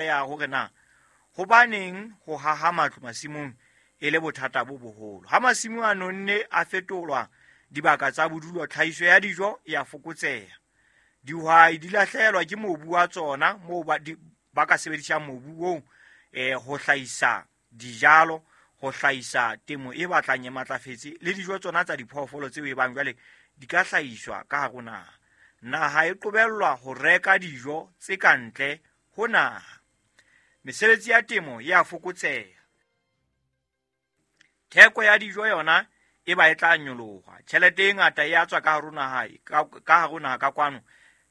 Ya hore na hobaneng ho haha matlo masimong e le bothata bo boholo. Ha masimo a nonne a fetolwa dibaka tsa bodulo, tlhahiso ya dijo e a fokotseha. Dihwai di lahlehelwa ke mobu wa tsona moo ba ka sebedisang mobu oo ho hlahisa dijalo, ho hlahisa temo e batlang e matlafetse le dijo tsona tsa diphoofolo tseo e bang jwale di ka hlahiswa ka hare ho naha. Naha e qobellwa ho reka dijo tse ka ntle ho naha. Mesebetsi ya temo e a fokotseha. Theko ya dijo yona e ba e tla nyoloha. Tjhelete e ngata e a tswa ka hare ho naha, ka hare ho naha ka kwano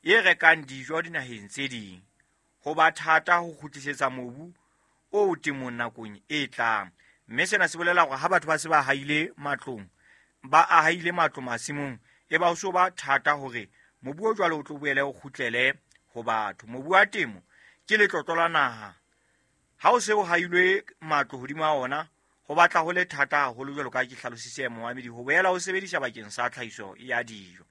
e rekang dijo dinaheng tse ding. Ho ba thata ho kgutlisetsa mobu o temong nakong e tlang. Mme sena se bolela hore ha batho ba se ba haile matlong, ba ahaile matlo masimong, e ba ho so ba thata hore mobu o jwalo o tlo boele o kgutlele ho batho. Mobu wa temo ke letlotlo la naha. Ha o se o hailwe matlo hodima ona, ho batla ho le thata haholo jwalo ka ke hlalositse momamedi ho boela o sebedisa bakeng sa tlhahiso ya dijo.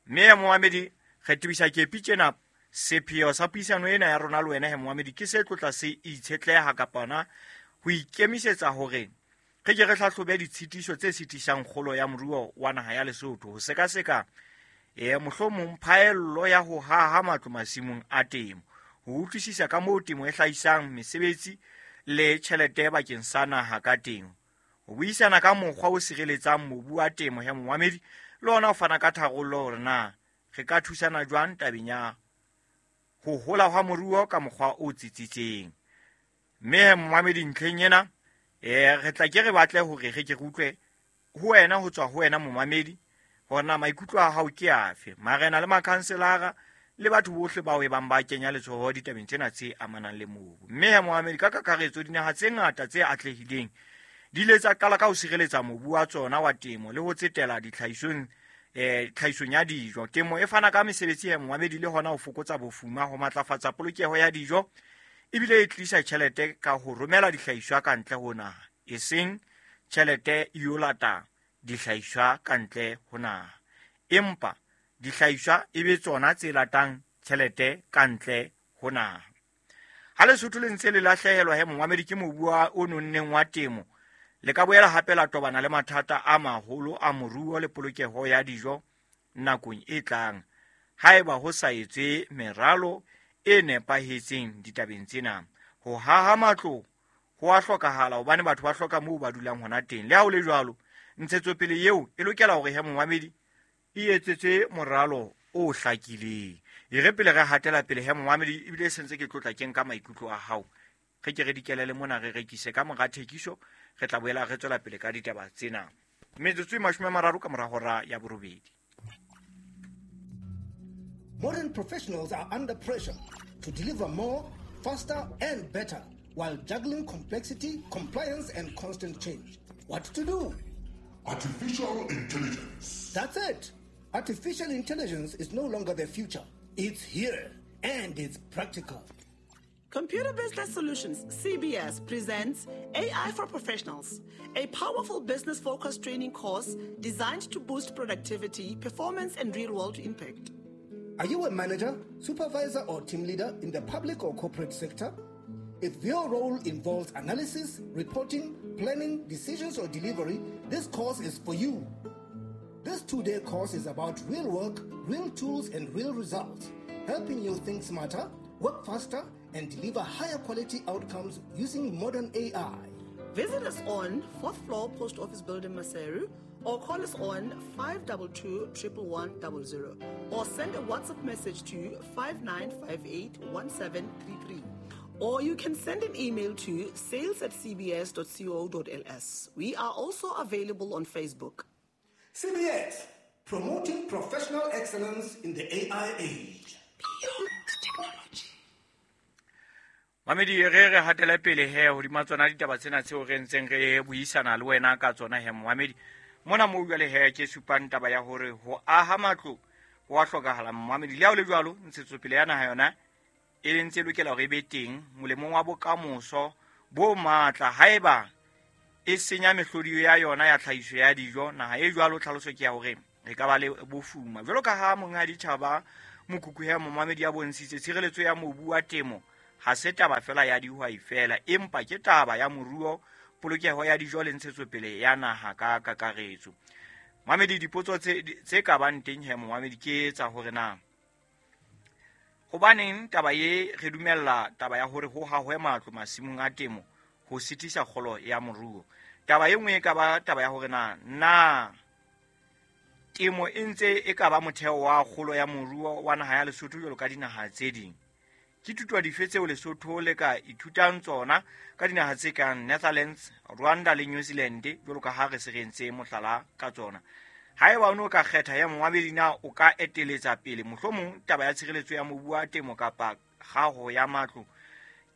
Mme momamedi, re tebisa kepi tjena. Sepheo sa puisano ena ya rona le wena he momamedi ke se tlotla se itshetleha kapa hona ho ikemisetsa hore re ke re hlahlobe ditshitiso tse sitisang kgolo ya moruo wa naha ya Lesotho, ho sekaseka mohlomong phaello ya ho haha matlo masimong a temo, ho utlwisisa ka moo temo e hlahisang mesebetsi le tjhelete bakeng sa naha ka teng, ho buisana ka mokgwa o sireletsang mobu wa temo he momamedi, le hona ho fana ka tharollo hore na re ka thusana jwang tabeng ya ho hola hwa moruo ka mokgwa o tsitsitseng. Mme momamedi, ntlheng ena re tla ke re batle hore re ke re utlwe ho wena, ho tswa ho wena momamedi, hore na maikutlo a hao ke afe. Marena le makhanselara le batho bohle bao e bang ba kenya letsoho ditabeng tsena tse amanang le mobu. Mme momamedi, ka kakaretso dinaha tse ngata tse atlehileng di ile tsa qala ka ho sireletsa mobu wa tsona wa temo le ho tsetela ditlhahisong tlhahisong ya dijo. Temo e fana ka mesebetsi ya momamedi le hona ho fokotsa bofuma, ho matlafatsa polokeho ya dijo, ebile e tlisa tjhelete ka ho romela dihlahiswa ka ntle ho naha, eseng tjhelete e yo lata dihlahiswa ka ntle ho naha, empa dihlahiswa e be tsona tse latang tjhelete ka ntle ho naha. Ha Lesotho le ntse le lahlehelwa he momamedi ke mobu o nonneng wa temo, le ka boela hape la tobana le mathata a maholo a moruo le polokeho ya dijo nakong e tlang, haeba ho sa etswe meralo e nepahetseng ditabeng tsena. Ho haha matlo ho a hlokahala hobane batho ba hloka moo ba dulang hona teng. Le ha ho le jwalo, ntshetsopele eo e lokela hore he momamedi e etsetswe moralo o hlakileng. E re pele re hatela pele he momamedi, ebile e sentse ke tlotla ke nka maikutlo a hao, re ke re dikelele mona re rekise ka mora thekiso, re tla boela re tswela pele ka ditaba tsena. Metsotso e 30 ka mora hora ya 8. Modern professionals are under pressure to deliver more, faster and better while juggling complexity, compliance and constant change. What to do? Artificial intelligence. That's it. Artificial intelligence is no longer the future. It's here and it's practical. Computer Business Solutions, CBS, presents AI for Professionals, a powerful business-focused training course designed to boost productivity, performance, and real-world impact. Are you a manager, supervisor, or team leader in the public or corporate sector? If your role involves analysis, reporting, planning, decisions, or delivery, this course is for you. This 2-day course is about real work, real tools, and real results, helping you think smarter, work faster, and deliver higher quality outcomes using modern AI. Visit us on 4th floor Post Office Building, Maseru, or call us on 522 11100, or send a WhatsApp message to 5958 1733. Or you can send an email to sales@cbs.co.ls. We are also available on Facebook. CBS, promoting professional excellence in the AI age. Beyond technology. Mamedi, re re hatele pele he hodima tsona ditaba tsena tseo re ntseng re buisana le wena ka tsona he momamedi. Mona mo jwale he ke supang taba ya hore ho aha matlo ho a hlokahala momamedi. Le ha ho le jwalo, ntshetsopele ya naha yona e le ntse lokela hore e be teng molemong wa bokamoso bo matla. Haeba e senya mehlodi ya yona ya tlhahiso ya dijo, naha e jwalo tlhaloso ke ya hore re ka ba le bofuma. Jwalo ka ha monghadi Tjhaba Mokhukhu he momamedi ya bontshitse, tshireletso ya mobu wa temo ha se taba fela ya dihwai fela, empa ke taba ya moruo, polokeho ya dijo le ntshetsopele ya naha ka kakaretso. Mamedi, dipotso tse ka bang teng he momamedi ke tsa hore na hobaneng taba ye re dumella taba ya hore ho hahwe matlo masimong a temo ho sitisa kgolo ya moruo. Taba e nngwe e ka ba taba ya hore na temo e ntse e ka ba motheo wa kgolo ya moruo wa naha ya Lesotho jwalo ka dinaha tse ding. Ke thuto dife tseo Lesotho le ka ithutang tsona ka dinaha tse kang Netherlands, Rwanda le New Zealand jwalo ka ha re se re entse mohlala ka tsona. Haeba o ne o ka kgetha ya momamedi, na o ka eteletsa pele mohlomong taba ya tshireletso ya mobu wa temo kapa kgaho ya matlo?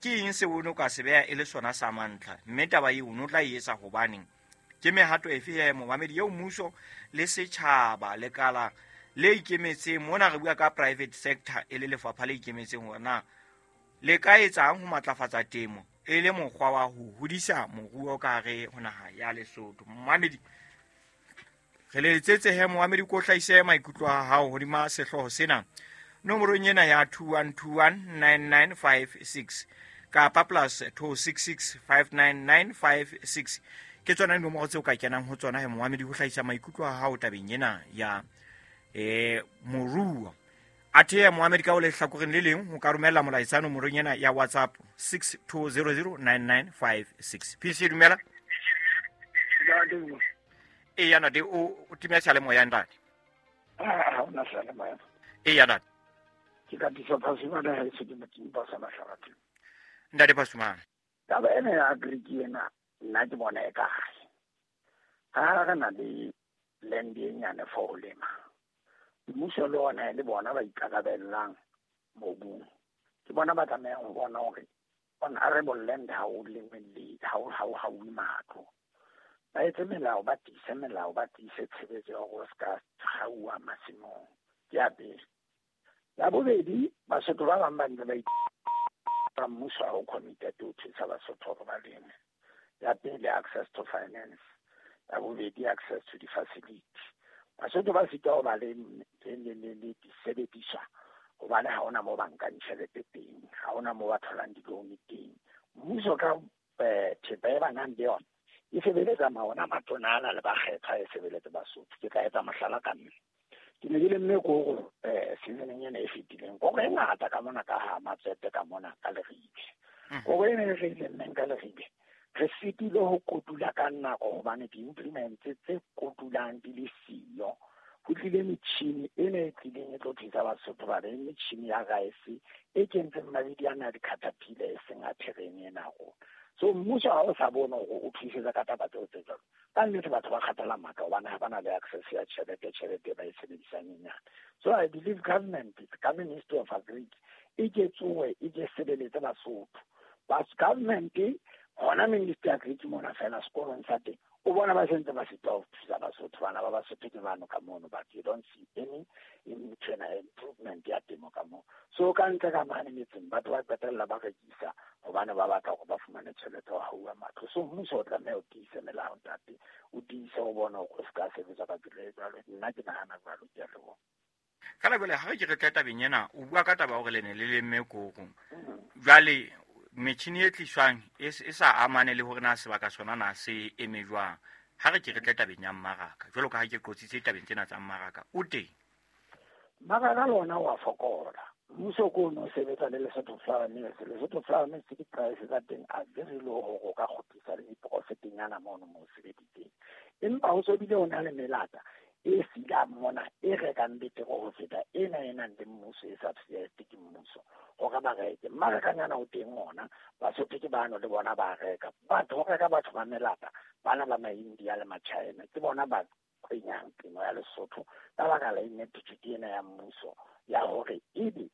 Ke eng seo o ne o ka se beha e le sona sa mantlha, mme taba eo o ne o tla e etsa hobaneng? Ke mehato efe ya momamedi eo mmuso le setjhaba lekala le ikemetseng, mona re bua ka private sector e le lefapha le ikemetseng, hore na le ka etsang ho matlafatsa temo e le mokgwa wa ho hodisa moruo ka hare ho naha ya Lesotho? Momamedi, re le letsetse he momamedi, ko hlahise maikutlo a hao hodima sehlooho sena nomorong ena ya 21219956 kapa plus 26659956. Ke tsona dinomoro tseo ka kenang ho tsona he momamedi ho hlahisa maikutlo a hao tabeng ena ya moruo. Athe momamedi, ka o lehlakoreng le leng ho ka romella molaetsa nomorong ena ya WhatsApp 62009956. PC, dumela. Eya ntate, o timela seyalemoya ntate. Ha hona seyalemoya. Eya ntate. Ke ka tisa Phasumane ha e se ke motseng ba sa mahlabatheng. Ntate Phasumane. Taba ena ya agric ena nna ke bona e kae. Ha re na le land e nyane for ho lema, mmuso le ona le bona ba ikarabellang mobung, ke bona ba tlamehang ho bona hore on arable land ha o lengwe le ha o matlo. Ba etse melao, ba tiise melao, ba tiise tshebetso ya hore o se ka hauwa masimong. Ke ya pele. Ya bobedi, Basotho ba bang ba ntse ba mmuso ha o committed ho thusa Basotho hore ba leme. Ya pele, access to finance. Ya bobedi, access to the facility. Basotho ba sitwa ho ba le disebediswa hobane ha hona moo ba nkang tjhelete teng, ha hona moo ba tholang di-loan teng. Mmuso ka thepa e ba nang le yona e sebeletsa maona matona ana le bakgethwa, e sebeletse Basotho. Ke tla etsa mohlala ka nna. Ke ne ke lemme koro seasoneng ena e fetileng. Koro e ngata ka mona ka ha Matsete ka mona ka Leribe. Koro ena e re lemmeng ka Leribe, re sitile ho kotula ka nako hobane di-implements tse kotulang di le siyo. Ho tlile metjhini ena e tlileng e tlo thusa Basotho ba be metjhini ya rice e kentseng mabidi ana a di-caterpillar e seng a terene ena rona. So mmuso ha o sa bone hore o thusetsa ka taba tseo tse jwalo, ka nnete batho ba kgathala matla hobane ha bana le access ya tjhelete ba e sebedisang e nyane. So I believe government, ka Ministry of Agric, e ke tsohe, e ke sebeletse Basotho. But government hona Ministry of Agric mona fela sekolong sa teng, o bona ba sentse ba sitwa ho thusa Basotho. Bana ba Basotho ke bano ka mono, but you don't see any improvement ya temo ka moo. So ka ntle ka mane metseng batho ba qetella ba rekisa hobane ba batla hore ba fumane tjhelete ho hauwa matlo. So mmuso o tlameha o tiise melao ntate, o tiise ho bona hore o se ka sebetsa ka tsela e jwalo. Nna ke nahana jwalo, ke a leboha. Fela jwale ha re ke re tle tabeng ena, o bua ka taba hore le ne le lemme koro. Jwale metjhini e tliswang e sa amane le hore na sebaka sona na se eme jwang. Ha re ke re tle tabeng ya mmaraka, jwalo ka ha ke qotsitse tabeng tsena tsa mmaraka, o teng? Mmaraka le ona wa fokola. Mmuso ko o no sebetsa le Lesotho Flour Mills. Lesotho Flour Mills ke di-price tsa teng a very low hore o ka kgutlisa le diprofitenyana mono mo o sebeditseng. Empa ho so bile ho na le melata e silang mona e rekang betere ho feta ena e nang le mmuso, e subsidized ke mmuso hore ba reke. Mmarakanyana o teng ona, Basotho ke bano le bona ba reka. Batho ho reka batho ba melata, bana ba ma-India le ma-China, ke bona ba kwenyang temo ya Lesotho ka baka la ineptitude ena ya mmuso ya hore ebe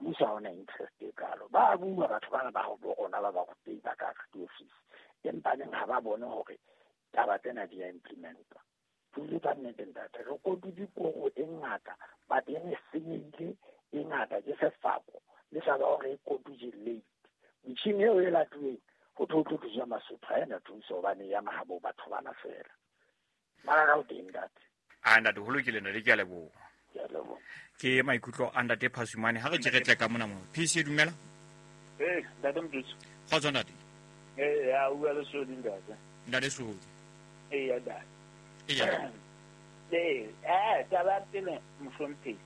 mmuso ha ona interest e kalo. Ba bua batho bana ba bo rona ba ba rutei ba ka diofisi, empa neng ha ba bone hore taba tsena di a implementwa. Pule ka nnete ntate, re kotutse koro e ngata, but e ne senyehile e ngata ke sefako le taba hore e kotutse late. Metjhini eo e latuweng ho thwe ho tlo thuswa Basotho, ha ena thuso hobane ya mahabo batho bana fela. Mmaraka o teng ntate. A ntate, ho lokile ntate, ke a leboha. Ke a leboha. Ke maikutlo a ntate Phasumane. Ha re ke re tle ka mona mo. PC, dumela. Ee, ntate Motutsi. Kgotso ntate. Ee, ya bua le Sodi ntate. Ntate Sodi. Ee, ya ntate. Eya. Ee, taba ya pele mohlomphehi,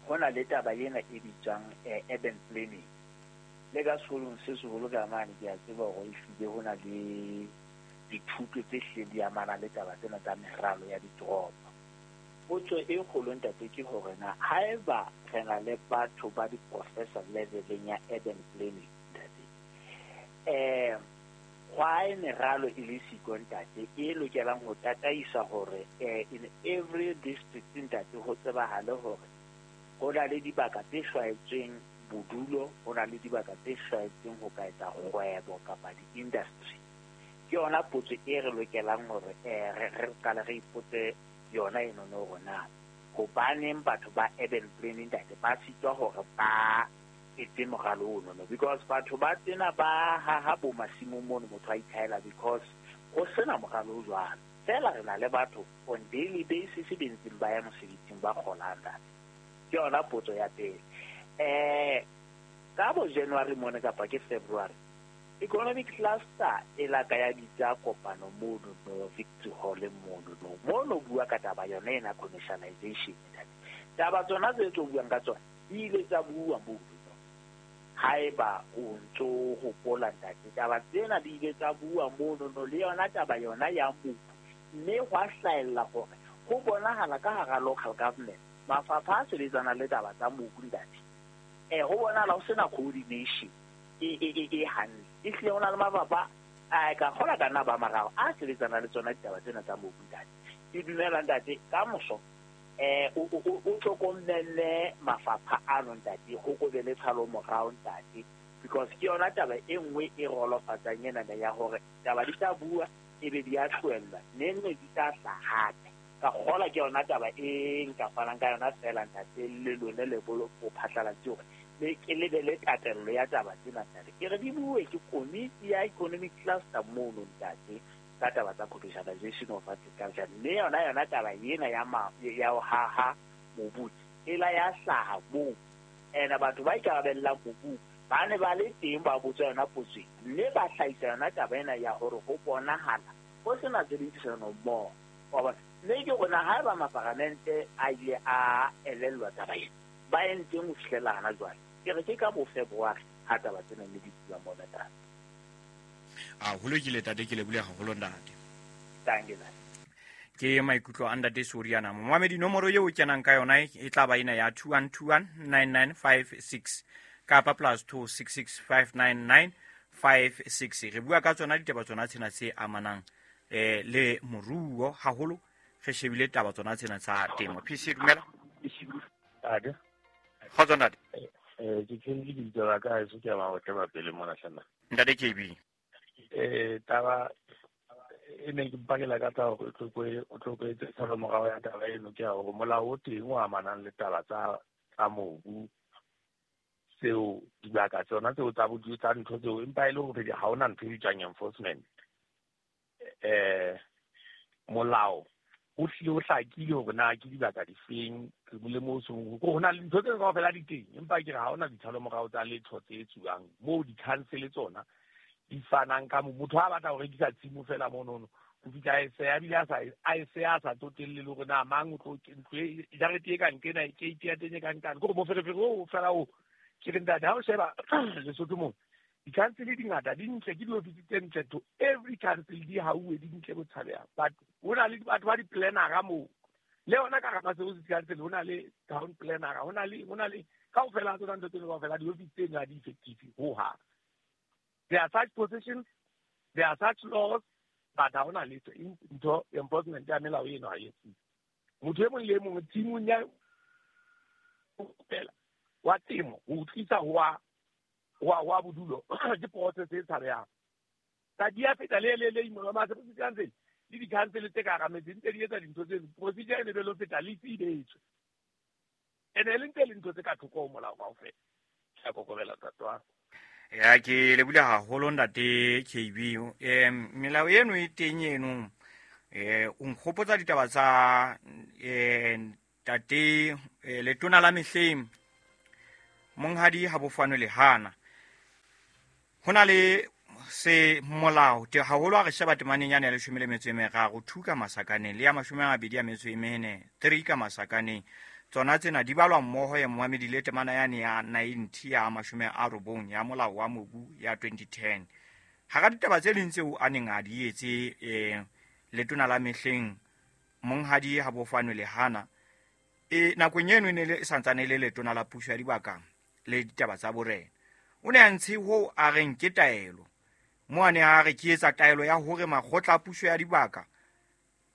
ho na le taba ena e bitswang urban planning. Le ka sekolong se seholo ka mane ke a tseba hore ehlile ho na le dithuto tse hlileng di amana le taba tsena tsa meralo ya ditoropo. Potso e kgolo ntate ke hore na haeba re na le batho ba di-professor leveleng ya urban planning ntate, why meralo e le siko ntate e lokelang ho tataisa hore in every district ntate ho tsebahale hore ho na le dibaka tse hlwaetsweng bodulo, ho na le dibaka tse hlwaetsweng ho ka etsa kgwebo kapa di-industry. Ke yona potso e re lokelang hore re qale re ipotse yona eno no hore na hobaneng batho ba urban planning ntate ba sitwa hore ba etse moralo ono no, because batho ba tsena ba haha bo masimong mono motho a ithaela because ho sena moralo o jwalo. Feela re na le batho on daily basis be ntseng ba ya mosebetsing ba kgolang ntate. Ke yona potso ya pele. Ka bo January mone kapa ke February, economic cluster e la ka ya bitsa kopano mono no Victory Hall mono no. Mono bua ka taba yona ena commercialization ntate. Taba tsona tse tlo buang ka tsona di ile tsa bua mono no. Haeba o ntso hopola ntate, taba tsena di ile tsa bua mono no le yona taba yona ya mobu, mme hwa hlahella hore ho bonahala ka hara local government mafapha a sebetsana le taba tsa mobu ntate. Ho bonahala ho sena coordination e hantle. Ehlile ho na le mafapha a ka kgola ka nna ba mararo a sebetsana le tsona ditaba tsena tsa mobu ntate. Ke dumela ntate ka moso o hlokomelle mafapha ano ntate, ho ko be le tshalo morao ntate, because ke yona taba e nngwe e rolofatsang ena ya hore taba di tla bua ebe di a tlohellwa neng ne di tla hlaha hape. Ka kgola ke yona taba e nka fanang ka yona feela ntate, le lone le bolo ho phatlalatse hore le ke lebele tatello ya taba tsena ntate. Ke re di bue ke komiti ya economic cluster mono ntate ka taba tsa commercialization of agriculture, mme yona taba ena ya ho haha mobu e la ya hlaha moo. Ene batho ba ikarabellang mobu ba ne ba le teng ba botsa yona potso, mme ba hlahisa yona taba ena ya hore ho bonahala ho sena tshebedisano mmoho. Wa bona, mme ke rona haeba maparamente a ile a elellwa taba ena, ba entseng ho fihlela hana jwale. Ke re ke ka bo February ha taba tsena ne di bua mona tata. A ho lokile tate, ke lebohile haholo ntate. Thank you, ntate. Ke maikutlo a ntate Soriana. Momamedi, nomoro eo o kenang ka yona e tla ba ena ya 21219956 kapa +26659956. Re bua ka tsona ditaba tsona tsena tse amanang le moruo haholo, re shebile taba tsona tsena tsa temo. PC dumela. Ade. Kgotso ntate. Ke tshwere lebitso la ka heso, ke a mahotle ba pele mona hlana. Ntate KB. Taba e ne ke mpakela ka tsa hore o tlo tshalo morao ya taba eno ke ya hore molao o teng o amanang le taba tsa mobu, tseo dibaka tsona tseo tsa bodulo tsa ntho tseo, empa e le hore ha hona ntho e bitswang enforcement. Molao o hlile o hlakile hore na ke dibaka difeng le moo seng ho na le ntho tse kaofela di teng, empa ke re ha hona ditshalo morao tsa letho tse etsuwang moo di-council tsona di fanang ka motho ha batla ho rekisa tshimo fela monono o fihla a e seya, ebile a e seya a sa tsotelle le hore na mang o tlo ntlo e jarete e kang kena keiti ya teng e kang kang, ke hore moferefere oo fela o ke re ntate ha o sheba Lesotho moo di-council di ngata di ntle, ke diofisi tse ntle to every council di hauwe di ntle bo tshabeha, but ho na le batho ba di-planner-a moo le yona ka hara Maseru council ho na le town planner-a, ho na le kaofela tsona ntho tseno kaofela diofisi tseno ha di effective hohang. There are such positions, there are such laws, but ha hona letho ntho enforcement ya melao eno ha e etsuwe. Motho e mong le e mong tshimong ya fela wa temo ho tlisa ho wa bodulo ke process e tshabehang. Tsa di a feta le le Maseru council le di-council tse ka hara metse ntse di etsa dintho tse procedure e ne be lo feta le itse e betswe, ene le ntse le ntho tse ka thoko ho molao kaofela. Ke a kokobela ntate. Ya ke lebohile haholo ntate KB. Melao eno e teng eno. O nkgopotsa ditaba tsa ntate letona la mehleng Monghadi Habofano Lehana. Ho na le se molao te haholo ha re sheba temaneng yane ya 13 2 ka masakaneng le ya 24 3 ka masakaneng. Tsona tsena di balwa mmoho ya momamedi le temana yane ya 90 ya 90 ya molao wa mobu ya 2010. Hara ditaba tse ding tseo a neng a di etse letona la mehleng Monghadi Habofano Lehana, nakong eno e ne le santsane le letona la puso ya dibaka le ditaba tsa borena. O ne a ntshe ho a reng ke taelo. Mo a ne a re ke etsa taelo ya hore makgotla a puso ya dibaka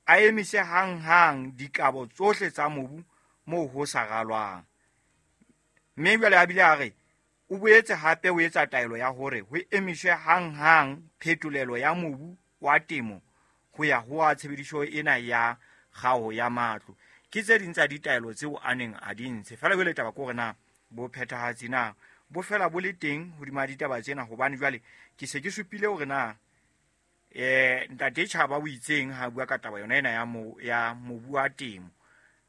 a emise hanghang dikabo tsohle tsa mobu moo ho sa ralwang. Mme jwale a bile a re o boetse hape o etsa taelo ya hore ho emiswe hanghang phetolelo ya mobu wa temo ho ya ho a tshebediso ena ya kgaho ya matlo. Ke tse ding tsa ditaelo tseo a neng a di ntshe. Feela jwale taba ke hore na bo phethahatsi na bo fela bo le teng hodima ditaba tsena, hobane jwale ke se ke supile hore na ntate Tjhaba o itseng ha bua ka taba yona ena ya mobu wa temo.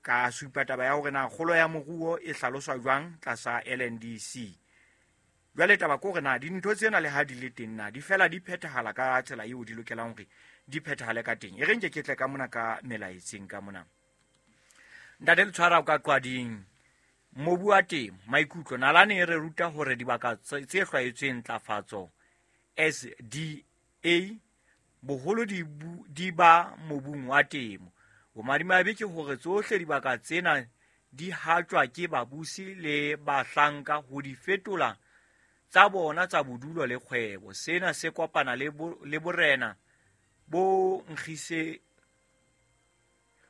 Ka supa taba ya hore na kgolo ya moruo e hlaloswa jwang tlasa LNDC. Jwale taba ke hore na dintho tsena le ha di le teng na di fela di phethahala ka tsela eo di lokelang hore di phethahale ka teng. E re nke ke tle ka mona ka melaetseng ka mona. Ntate Letshwara o ka Qwading, mobu wa temo, maikutlo nalane e re ruta hore dibaka tse hlwaetsweng ntlafatso SDA boholo di ba mobung wa temo. Bomadimabe ke hore tsohle dibaka tsena di hatjwa ke babusi le bahlanka ho di fetola tsa bona tsa bodulo le kgwebo. Sena se kopana le borena bo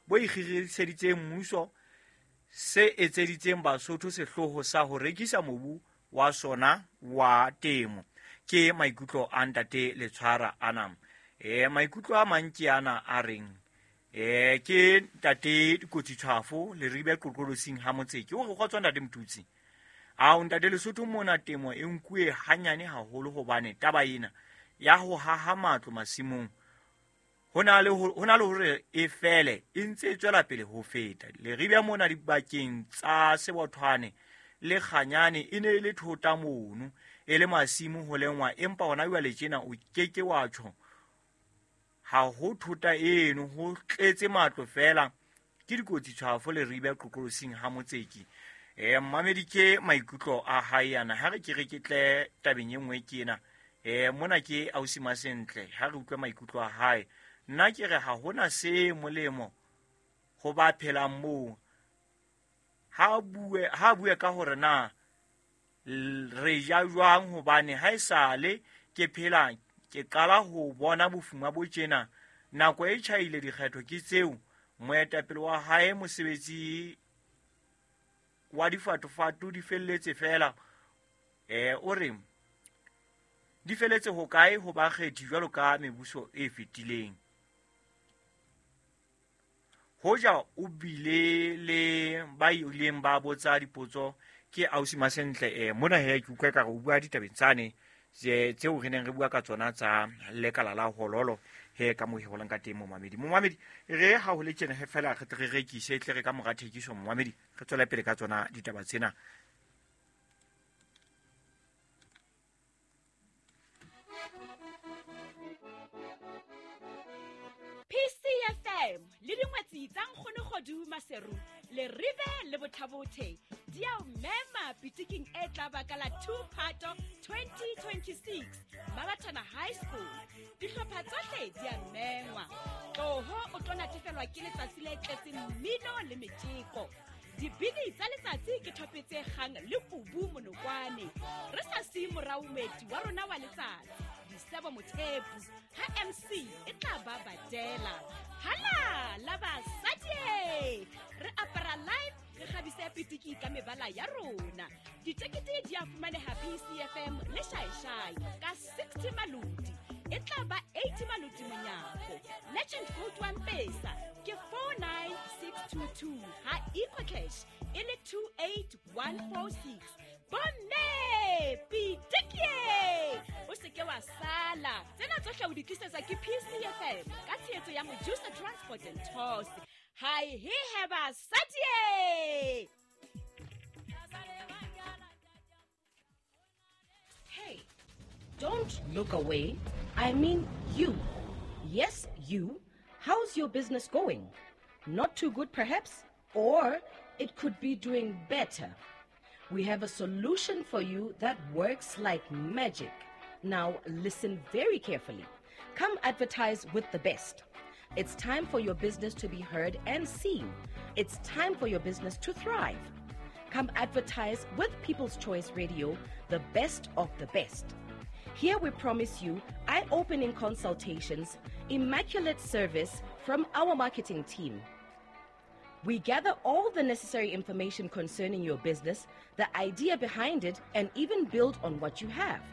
ikgiriseditseng mmuso se etseditseng Basotho sehlooho sa ho rekisa mobu wa sona wa temo. Ke maikutlo a ntate Letshwara ana. Maikutlo a mang ke ana a reng ke ntate Dikotsi Tshwafo le ribe qoqolosing ha Motseke. O re kgotso ntate Motutsi. Ao ntate Lesotho mona temo e nkuwe hanyane haholo hobane taba ena ya ho haha matlo masimong ho na le hore e fele e ntse e tswela pele ho feta. Leribe mona dibakeng tsa Sebothwane le Kganyane e ne e le thota mono e le masimo ho lengwa, empa hona jwale tjena o keke wa tjho ha ho thota eno, ho tletse matlo fela. Ke Dikotsi Tshwafo le ribe qoqolosing ha Motseki. Mmamedi ke maikutlo a hae ana. Ha re ke re ke tle tabeng e nngwe ke ena. Mona ke ausi Masentle, ha re utlwe maikutlo a hae. Nna ke re ha hona se molemo ho ba phelang moo. Ha bue ka hore na re ja jwang, hobane ha esale ke phela ke qala ho bona bofuma bo tjena. Nako e tjhaile dikgetho ke tseo. Moetapele wa hae mosebetsi wa difatofatu di felletse fela. O re di felletse ho kae ho bakgethi jwalo ka mebuso e fetileng. Hoja o bile le ba ileng ba botsa dipotso ke ausi Masentle. Mona he ke utlwa ka re o bua ditabeng tsane tseo re neng re bua ka tsona tsa lekala la hololo he ka mo heholang ka teng momamedi. Momamedi re ha ho le tjena he fela re tle re rekise tle re ka mora thekiso momamedi re tswela pele ka tsona ditaba tsena. PCFM le dingwetsi tsa Nkgono Kgodu Maseru le Ribe le Bothabothe di a o mema pitiking e tla ba ka la 2 Phato 2026 Mabathana High School. Dihlopha tsohle di a mengwa. Tloho o tlo natefelwa ke letsatsi le tletseng mmino le metjeko. Dibini tsa letsatsi ke thope tse kgang le kubu monokwane. Re sa siye morao moeti wa rona wa letsatsi Disebo Mothepu ha MC e tla ba badela. Hala la basadi, re apara live, re kgabise pitiki ka mebala ya rona. Ditekete di a fumaneha PCFM le Shaishai ka 60 maloti. E tla ba 80 maloti monyako. Legend code wa Mpesa ke 49622 ha EcoCash e le 28146. Bomme pitiki, o se ke wa sala. Tsena tsohle o di tlisetsa ke PCFM ka tshehetso ya Mojusa Transport and Tours. Hi he he basadi. Don't look away. I mean you. Yes, you. How's your business going? Not too good, perhaps? Or it could be doing better. We have a solution for you that works like magic. Now, listen very carefully. Come advertise with the best. It's time for your business to be heard and seen. It's time for your business to thrive. Come advertise with People's Choice Radio, the best of the best. Here we promise you eye opening consultations, immaculate service from our marketing team. We gather all the necessary information concerning your business, the idea behind it, and even build on what you have.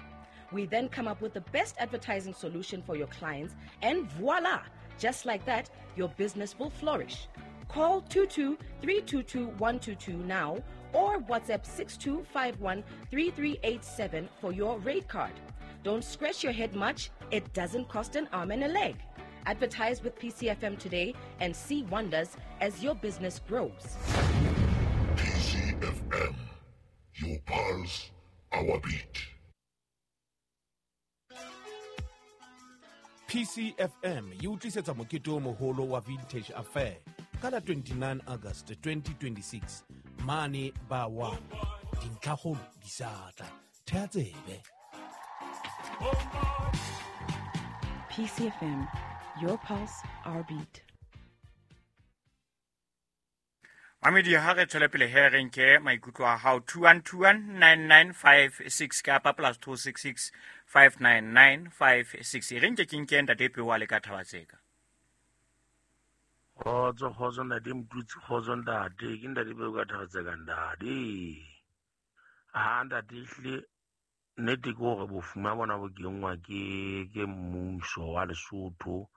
We then come up with the best advertising solution for your clients, and voila! Just like that, your business will flourish. Call 22 322 122 now or WhatsApp 6251 3387 for your rate card. Don't scratch your head much, it doesn't cost an arm and a leg. Advertise with PCFM today and see wonders as your business grows. PCFM, your pulse, our beat. PCFM e o tlisetsa mokete o moholo wa Vintage Affair ka la 29 August 2026 mane ba 1. Dintlhakgolo di sa tla. Thea tsebe. PCFM, your pulse, our beat. Mamedi, ha re tswele pele he re nke maikutlo a hao. 21219956 kapa plus 266 59956. E re nke ke nke ntate Peo a le ka Thabatseka. Kgotso, kgotso ntate Motutsi, kgotso ntate. Ke ntate Peo ka Thabatseka ntate. Ha ntate ehlile nnete ke hore bofuma bona bo kenngwa ke mmuso wa Lesotho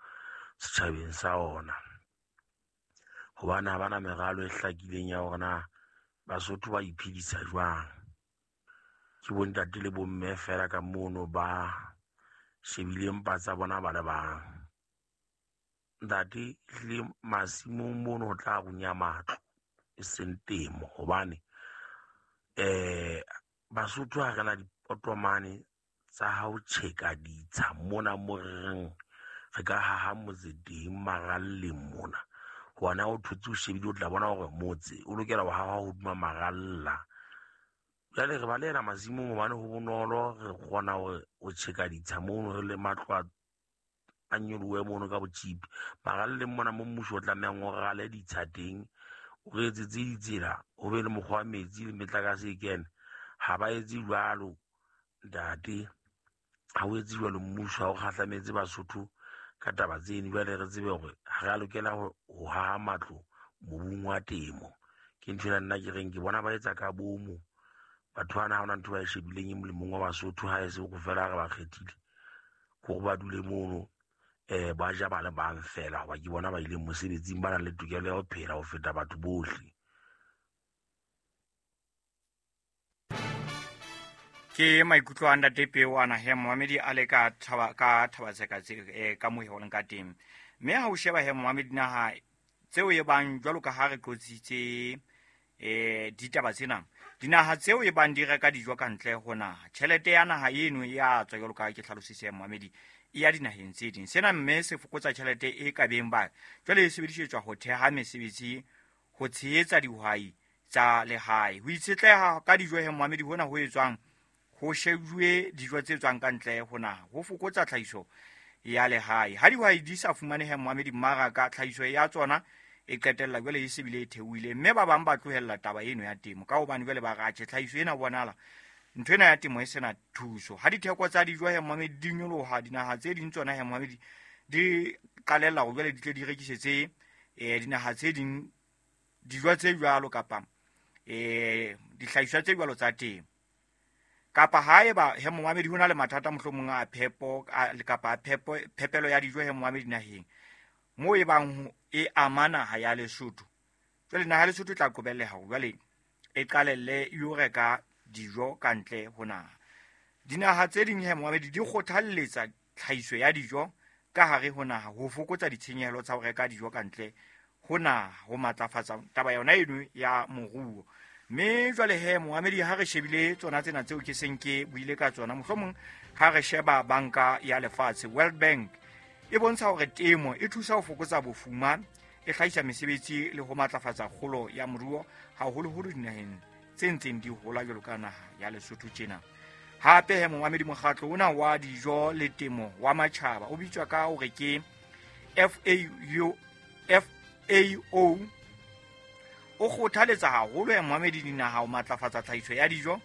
setjhabeng sa ona. Hobane ha bana meralo e hlakileng ya hore na Basotho ba iphedisa jwang. Ke bontate le bomme fela ka mono ba shebileng mpa tsa bona ba le bang. Ntate ehlile masimong mono ho tla runya matlo e seng temo, hobane Basotho ha re na dipotomane tsa ha ho tjheka ditsha mona mo re reng re ka haha motse teng maralleng mona. Hobane ha o thotse o shebile o tla bona hore motse o lokela ho haha hodima maralla. Jwale re balehela masimong hobane ho bonolo, re kgona hore o tjheka ditsha mono re le matlo a nyolohe mono ka botjipi. Maralleng mona mo mmuso o tlamehang o rale ditsha teng, o re etsetse ditsela, ho be le mokgwa wa metsi le metlakase e kene. Ha ba etse jwalo ntate, ha o etse jwalo mmuso ha o kgahlametse Basotho ka taba tseno. Jwale re tsebe hore ha re a lokela ho haha matlo mobung wa temo. Ke ntho ena nna ke reng ke bona ba etsa ka bomo. Batho bana ha hona ntho ba e shebileng e molemong wa Basotho, ha e se ho fela re ba kgethile hore ba dule mono, ba ja ba le bang fela, hoba ke bona ba ileng mosebetsing, ba nang le tokelo ya ho phela ho feta batho bohle. Ke maikutlo a ntate Peo ana he momamedi a le ka thaba ka Thabatseka tse ka mo holeng ka teng. Mme ha o sheba he momamedi naha tseo e bang jwalo ka ha re qotsitse ditaba tsena, dinaha tseo e bang di reka dijo ka ntle ho naha, tjhelete ya naha eno e a tswa jwalo ka ha ke hlalositse momamedi, e ya dinaheng tse ding. Sena mme se fokotsa tjhelete e ka beng ba jwale e sebedisetswa ho theha mesebetsi, ho tshehetsa dihwai tsa lehae. Ho itshetleha ka dijo he momamedi hona ho etswang ho shejuwe dijo tse tswang ka ntle ho naha, ho fokotsa tlhahiso ya lehae. Ha dihwai di sa fumanehe momamedi mmaraka, tlhahiso ya tsona e qetella jwale e se bile e theohile, mme ba bang ba tlohella taba eno ya temo ka hobane jwale ba re atjhe tlhahiso ena bonahala ntho ena ya temo e sena thuso. Ha ditheko tsa dijo he momamedi di nyoloha, dinaha tse ding tsona he momamedi di qalella hore jwale di tle di rekisetse dinaha tse ding dijo tse jwalo kapa dihlahiswa tse jwalo tsa temo. Kapa haeba he momamedi ho na le mathata mohlomong a phepo kapa phepo phepelo ya dijo he momamedi naheng moo e bang e ama naha ya Lesotho, jwale naha ya Lesotho e tla qobelleha hore jwale e qalelle e yo reka dijo ka ntle ho naha. Dinaha tse ding he momamedi di kgothalletsa tlhahiso ya dijo ka hare ho naha ho fokotsa ditshenyehelo tsa ho reka dijo ka ntle ho naha, ho matlafatsa taba yona eno ya moruo. Mme jwale he moamedi, ha re shebile tsona tsena tseo ke seng ke buile ka tsona, mohlomong ha re sheba Banka ya Lefatshe, World Bank, e bontsha hore temo e thusa ho fokotsa bofuma, e hlahisa mesebetsi le ho matlafatsa kgolo ya moruo, haholoholo dinaheng tse ntseng di hola jwalo ka naha ya Lesotho tjena. Hape he moamedi, mokgatlo ona wa dijo le temo wa matjhaba o bitswa ka hore ke FAO, o kgothaletsa haholo ya moamedi dinaha ho matlafatsa tlhahiso ya dijo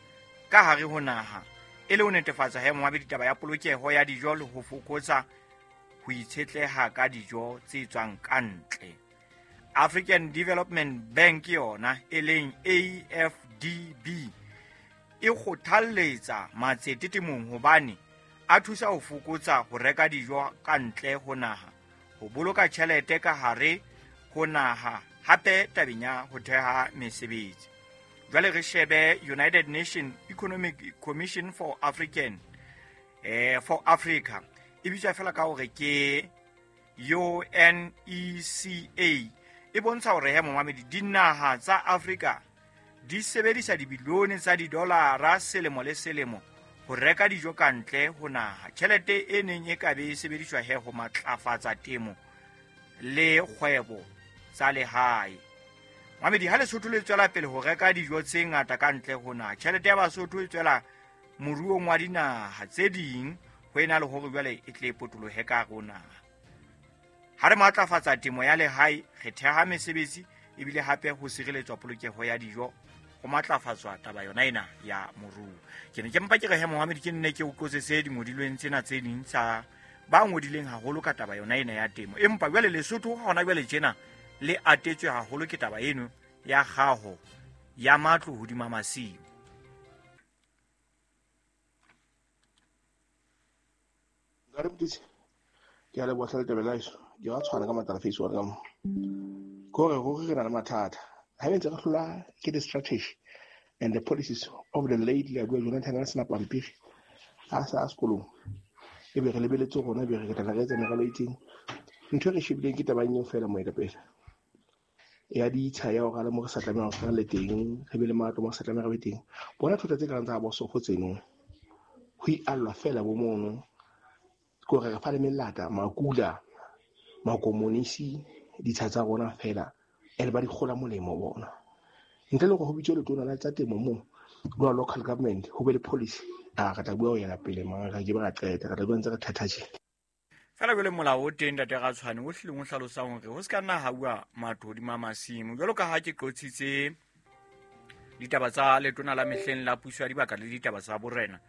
ka hare ho naha, e le ho netefatsa he moamedi taba ya polokeho ya dijo le ho fokotsa ho itshetleha ka dijo tse tswang ka ntle. African Development Bank yona e leng AFDB e kgothalletsa matsete temong hobane a thusa ho fokotsa ho reka dijo ka ntle ho naha, ho boloka tjhelete ka hare ho naha, hape tabeng ya ho theha mesebetsi. Jwale re shebe United Nations Economic Commission for African for Africa, e bitswa fela ka hore ke UNECA, e bontsha hore he momamedi dinaha tsa Afrika di sebedisa dibilione tsa didolara selemo le selemo ho reka dijo ka ntle ho naha. Tjhelete e neng e ka be e sebediswa he ho matlafatsa temo le kgwebo tsa lehae. Mamedi, ha Lesotho le tswela pele ho reka dijo tse ngata ka ntle ho naha, tjhelete ya Basotho e tswela moruong wa dinaha tse ding ho ena le hore jwale e tle e potolohe ka hare ho naha. Ha re matlafatsa temo ya lehae, re theha mesebetsi ebile hape ho sireletswa polokeho ya dijo, ho matlafatswa taba yona ena ya moruo. Ke ne ke mpa ke re he Mohammed, ke nne ke o qotsetse dingodilweng tsena tse ding tsa ba ngodileng haholo ka taba yona ena ya temo. Empa jwale Lesotho hona jwale tjena le atetswe haholo ke taba eno ya kgaho ya matlo hodima masimo. Nka re ke a leboha hle letebele la heso. Ke wa tshwana ka matla face wa ka mo. Ke hore ruri re na le mathata. Ha ntse re hlola ke the strategy and the policies of the late Leabua Jonathan a sena pampiri a sa sekolong. E be re lebeletse rona, e be re tla re etsa meralo e itseng. Ntho e re shebileng ke taba eo feela moetapele. Ya ditsha ya hore le mo re sa tlameha ho le teng, re be le matlo mo re sa tlameha re be teng. Bona thota tse kareng tsa bo sofo tseno. Ho iallwa feela bo mono. Ke hore re fa le melata, makula, makomonisi, ditsha tsa rona feela, ene ba di kgola molemo bona. Ntle le hore ho bitswe letona la tsa temo moo, lwa local government, ho be le policy, a re tla bua ho yena pele, mara re ke ba ra qeta, re tla bua ntse re thatha tje. Fela jwale molao o teng ntate Ratshwane o hlileng o hlalosang hore ho se ka nna ha bua matlo hodima masimo. Jwalo ka ha ke qotsitse ditaba tsa letona la mehleng la puso ya dibaka le ditaba tsa borena,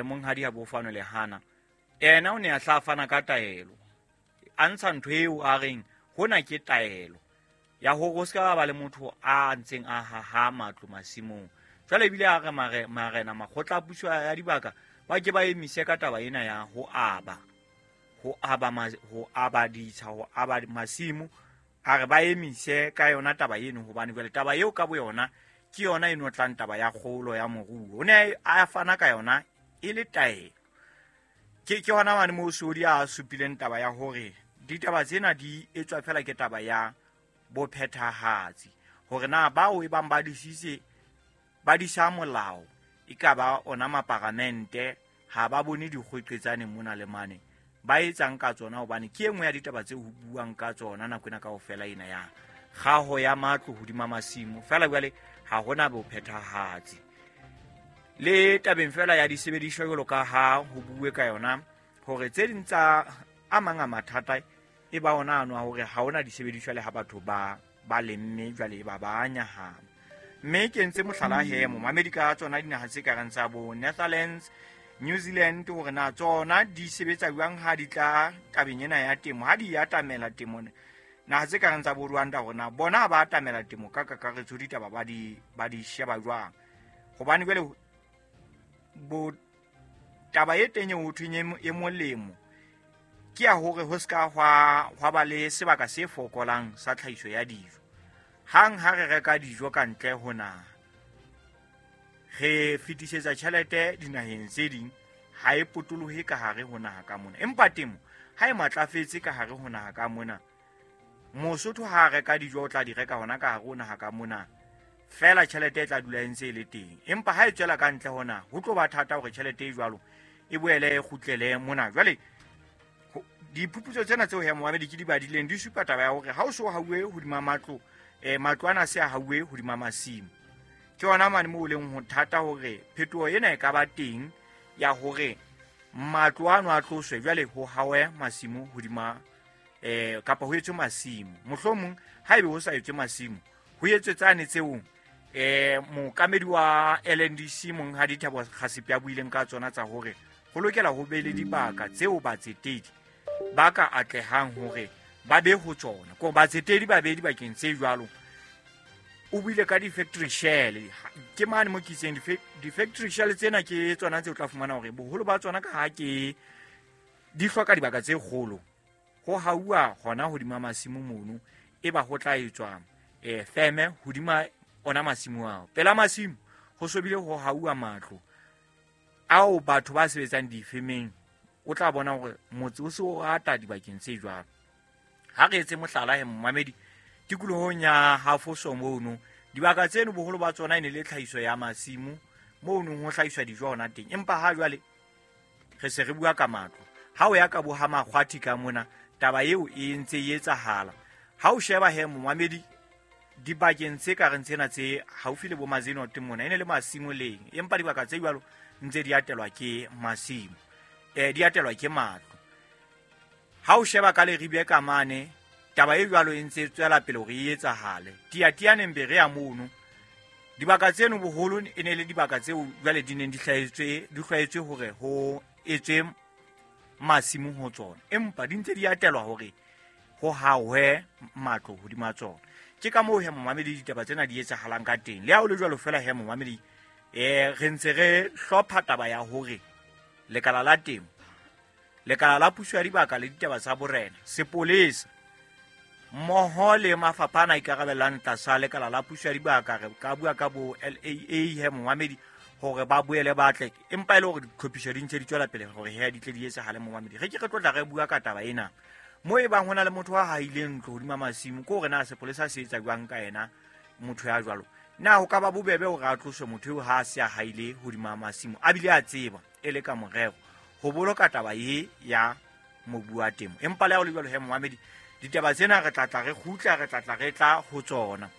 monghadi ha Bofano Lehana, ena o ne a hla fana ka taelo, a ntsha ntho eo a reng hona ke taelo ya hore ho se ka ba le motho a ntseng a haha matlo masimong. Jwale ebile a re marena makgotla a puso ya dibaka ba ke ba emise ka taba ena ya ho aba ditsha, ho aba masimo, a re ba emise ka yona taba eno, hobane jwale taba eo ka boyona ke yona e no tlang taba ya kgolo ya moruo. O ne a fana ka yona e le taelo. Ke hona mane moo Sodi a supileng taba ya hore ditaba tsena di etswa fela ke taba ya bophethahatsi, hore na bao e bang ba disitse ba disa molao e ka ba ona maparamente, ha ba bone dikgweqetsane mona le mane ba etsang ka tsona, hobane ke e nngwe ya ditaba tse ho buang ka tsona nako ena kaofela ena ya kgaho ya matlo hodima masimo. Fela jwale ha hona bophethahatsi. Le tabeng fela ya disebediswa jwalo ka ha ho bue ka yona, hore tse ding tsa a mang a mathata e ba ona ano a hore ha hona disebediswa le ha batho ba lemme jwale ba ba nyahama. Mme ke entse mohlala he momamedi ka tsona dinaha tse kareng tsa bo Netherlands, New Zealand, hore na tsona di sebetsa jwang ha di tla tabeng ena ya temo, ha di atamela temo. Naha tse kareng tsa bo Rwanda, hore na bona ba atamela temo ka kakaretso ditaba ba di sheba jwang. Hobane jwale bo taba e teng ho thweng e molemo ke ya hore ho ska hwa ba le sebaka se fokolang sa tlhahiso ya dijo. Hang ha re reka dijo ka ntle ho naha, re fetisetsa tjhelete dinaheng tse ding, ha e potolohe ka hare ho naha ka mona. Empa temo ha e matlafetse ka hare ho naha ka mona, Mosotho ha a reka dijo o tla di reka hona ka hare ho naha ka mona. Feela tjhelete e tla dula e ntse e le teng. Empa ha e tswela ka ntle hona, ho tlo ba thata hore tjhelete e jwalo e boele e kgutlele mona. Jwale diphuputso tsena tseo he momamedi ke di badileng di supa taba ya hore ha o so hauwe hodima matlo, matlo ana se a hauwe hodima masimo. Ke hona mane moo leng ho thata hore phetoho ena e ka ba teng ya hore matlo ano a tloswe, jwale ho hawe masimo hodima kapa ho etswe masimo. Mohlomong haebe ho sa etswe masimo, ho etswe tsane tseo mookamedi wa LNDC Monghadi Thabo Kgasipe a buileng ka tsona tsa hore ho lokela ho be le dibaka tseo batsetedi ba ka atlehang hore ba be ho tsona. Ko batsetedi ba be dibakeng tse jwalo. O buile ka di-factory shell. Ke mane mo ke itseng di-factory shell tsena ke tsona tse o tla fumana hore boholo ba tsona ka ha ke di hloka dibaka tse kgolo. Ho hauwa hona hodima masimo mono, e ba ho tla etswa feme hodima ona masimo ao. Pela masimo ho sobile ho hauwa matlo ao batho ba sebetsang difemeng. O tla bona hore motse o se o rata dibakeng tse jwalo. Ha re etse mohlala he momamedi, tikolohong ya Hafoso mono, dibaka tseno boholo ba tsona e ne le tlhahiso ya masimo mono ho hlahiswa dijo hona teng. Empa ha jwale re se re bua ka matlo. Ha o ya ka bo ha Makgwathi ka mona, taba eo e ntse e etsahala. Ha o sheba he momamedi, dibakeng tse ka reng tsena tse haufi le bo Mazinote mona e ne le masimo leng, empa dibaka tse jwalo ntse di atelwa ke masimo, di atelwa ke matlo. Ha o sheba ka Leribe ka mane, taba e jwalo e ntse e tswela pele hore e etsahale. Tiatianeng be re ya mono, dibaka tseno boholo e ne le dibaka tseo jwale di neng di hlwaetswe hore ho etswe masimo ho tsona, empa di ntse di atelwa hore ho hahwe matlo hodima tsona. Ke ka moo he momamedi ditaba tsena di etsahalang ka teng. Le ha o le jwalo feela he momamedi, re ntse re hlopha taba ya hore lekala la temo, lekala la puso ya dibaka le ditaba tsa borena, sepolesa mmoho le mafapha ana a ikarabellang tlasa lekala la puso ya dibaka, re ka bua ka bo LAA he momamedi, hore ba boele ba tle. Empa e le hore ditlhophiso di ntse di tswela pele hore he di tle di etsahale momamedi. Re ke re tlotla re bua ka taba ena. Mo e bang ho na le motho a haileng ntlo hodima masimo, ke hore na sepolesa se etsa jwang ka yena motho ya jwalo. Na ho ka ba bobebe hore a tloswe motho eo ha a se a haile hodima masimo, a bile a tseba e le ka morero ho boloka taba e ya mobu wa temo. Empa le ha ho le jwalo he momamedi, ditaba tsena re tla tla re kgutla, re tla tla re tla ho tsona.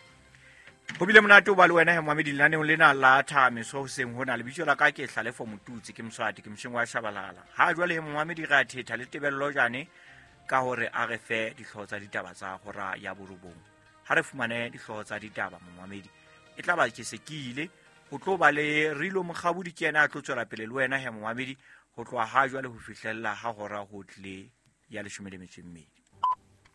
Ho bile monate ho ba le wena he momamedi lenaneong lena la Thameso hoseng hona. Lebitso la ka ke Hlalefo Motutsi, ke Moswati, ke mosheng wa Shabalala. Ha jwale he momamedi re a thetha le Tebello Jane ka hore a re fe dihlooho tsa ditaba tsa hora ya borobong. Ha re fumane dihlooho tsa ditaba momamedi, e tla ba ke se ke ile ho tlo ba le Rilo Mokgabudi, ke yena a tlo tswela pele le wena he momamedi ho tloha ha jwale ho fihlella ha hora ho tlile ya 12.